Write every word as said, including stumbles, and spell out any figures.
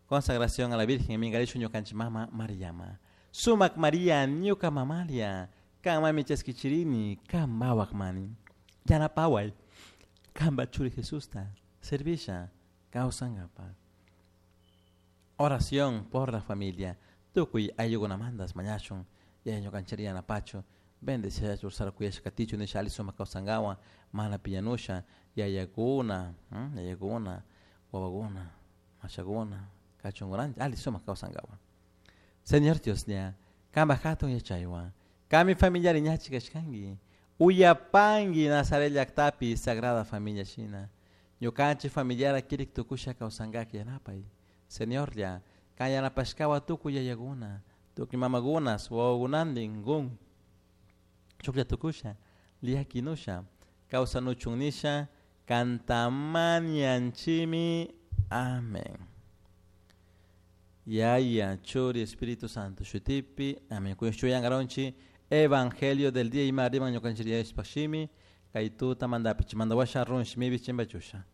Consagración a la Virgen minkarishun ñukanchik mama Mariama. Sumak Maria ñuka mamalia, kanmanmi chaskichirini, kanpawak mani. Yanapaway, kanpa churi Jesusta, servisha, kawsankapak. Oración por la familia. Tukuy ayllukunamantas mañashun, yaya ñukanchik yanapachu, bendeciachun kuyashka katichun nisha alli sumak kawsankawan mana piñanusha yayakuna, yayakuna, wawakuna, mashakuna, kachunkunanchik alli sumak kawsankawan. Señor Dioslla, kanpak hatun yachaywan, kanmi familiari ñachi kashkanki, uyapanki Nazaret llaktapi Sagrada Familia shina, ñukanchik familiara kirik tukusha kawsankak yanapay. Señorlla, kan yanapashkawan tukuy yayakuna, tukuy mamakunas, wawakunantin kun chuklla tukusha, llakinusha, kawsanuchun nisha, kanta mañanchimi. Amén. Yaya, Churi, Espíritu Santo, shutipi, amén. Kuyan Evangelio del día ima riman ñukanchik shimi, kay tuta mandapi, chimanda washa run shimibi chimbachusha.